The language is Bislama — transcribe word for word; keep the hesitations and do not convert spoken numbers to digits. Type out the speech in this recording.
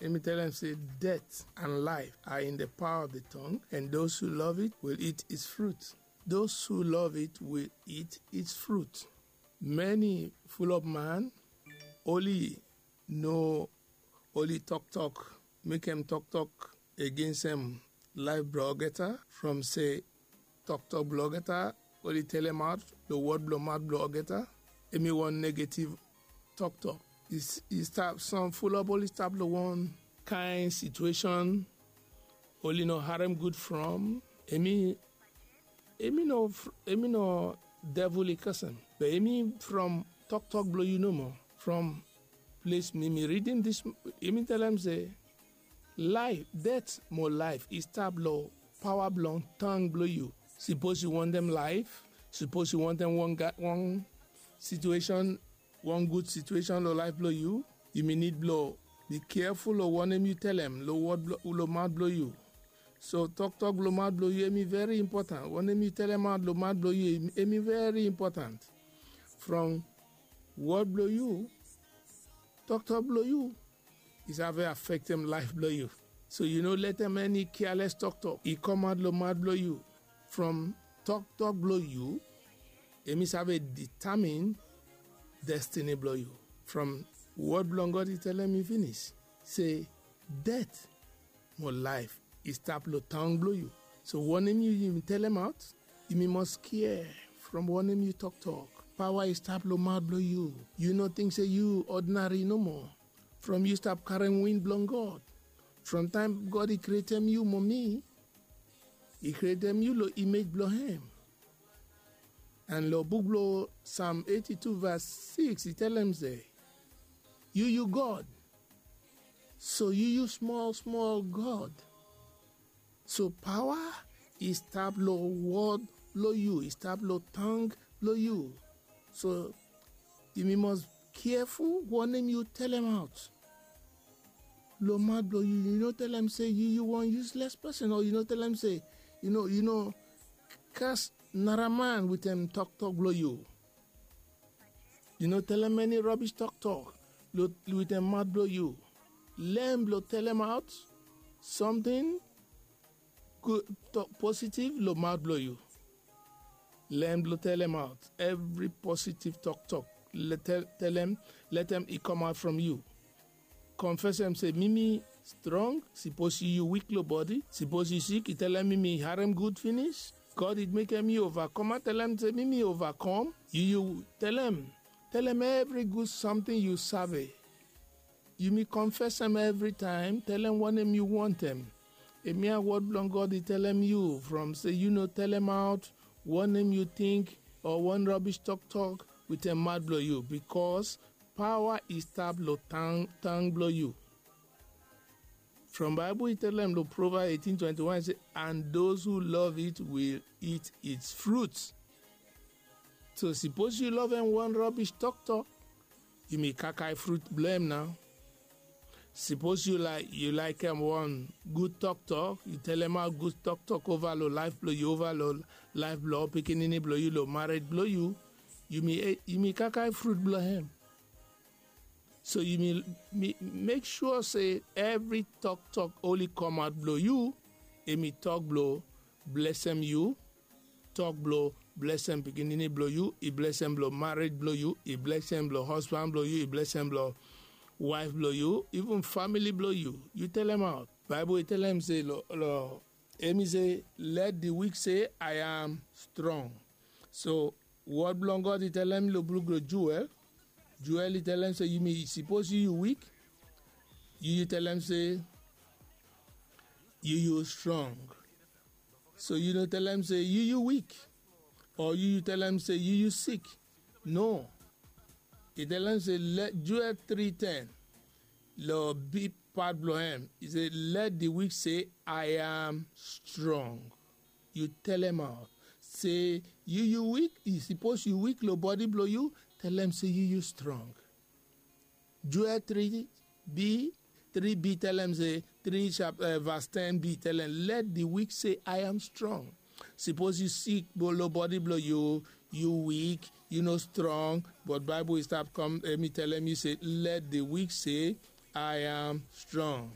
Hemi tell dem se, death and life are in the power of the tongue, and those who love it will eat its fruit. Those who love it will eat its fruit. Many full of man only no only toktok, mekem toktok against em life blong olgeta, from se toktok blong olgeta only telemaot long wod blong maot blong olgeta, hemi wan negative toktok. I stap, some full of only stap long wan kain situation, only no harem gud from hemi. Hemi no, hemi no devil i kasem, be hemi from toktok blong yu nomo. From ples mi mi ridim dis, hemi talem se, laef, det mo laef i stap long paoa blong tang blong yu. Sipos yu wantem laef, sipos yu wantem wan situesen, wan gud situesen long laef blong yu, yumi nid blong bi keaful long wanem yu talem long wod blong maot blong yu. So toktok blong maot blong yu hemi veri impotan. Wanem yu talemaot long maot blong yu hemi veri impotan. From wod blong yu, toktok blong yu i save afektem laef blong yu. So yu no letem eni kiales toktok i kamaot long maot blong yu. From toktok blong yu hemi save ditamin destini blong yu. From wod blong God i talem yu finis se, det mo laef i stap long tang blong yu. So wanem yu yumi talemaot, yumi mas kea from wanem yu toktok. Paoa i stap long maot blong yu. Yu no ting se yu odinari nomo. From yu stap karem win blong God. From taem God i krietem yu mo mi, i krietem yu long imej blong hem. And long buk blong Sam eiti tu vas siks i talem se, yu yu God. So yu yu smol smol God. So paoa i stap long wod blong yu, i stap long tang blong yu. So yumi mas keaful wanem yu talemaot long maot blong yu. Yu no talem se yu yu wan yusles pesen, o yu no talem se yu no, yu no kas nara man wetem toktok blong yu. Yu no talem eni robis toktok wetem maot blong yu. Lem blong talemaot samting positiv long maot blong yu. Lem blong talemaot evri positiv toktok. Talem, letem i kamaot from yu. Konfesem se mi mi strong. Sipos yu yu wik long bodi, sipos yu sik, i talem mi mi harem gud finis. God i mekem yu ovakoma. Talem se mi mi ovakom. Yu yu talem, talem evri gud samting yu save. Yumi konfesem evritaem, talem wanem yu wantem. Hemia wod blong God i talem yu from se yu no talemaot wanem yu ting o wan robis toktok wetem maot blong yu, bikos paoa i stap long tang blong yu. From Baebol i talem long Provabs eitin twenti wan se, and those who love it will eat its fruits. So sipos yu lovem wan robis toktok, yumi kakae frut blong hem nao. Sipos yu laekem wan gud toktok, yu talemaot gud toktok ova long laef blong yu, ova long laef blong ol pikinini blong yu, long mared blong yu, yumi kakae frut blong hem. So yumi mek sua se evri toktok oli kamaot blong yu, hemi tok blong blesem yu, tok blong blesem pikinini blong yu, i blesem blong mared blong yu, i blesem blong hospan blong yu, i blesem blong waef blong yu, iven famili blong yu. Yu talemaot. Baebol i talem se long, hemi se, let di wik se, I am strong. So wod blong God i talem long buk long Joel. Joel i talem se yumi, sipos yu yu wik, yu yu talem se yu yu strong. So yu no talem se yu yu wik, o yu yu talem se yu yu sik. No. I talem se, Joel tri ten, long big pat blong hem, i se, let di wik se, I am strong. Yu talemaot se yu yu wik. Sipos yu wik long bodi blong yu, talem se yu yu strong. Joel tri bi, tri bi talem se, tri vas ten bi talem, let di wik se, I am strong. Sipos yu sik long bodi blong yu, yu wik, yu no strong, but Baebol i stap kam, hemi talem yu se, let di wik se, I am strong.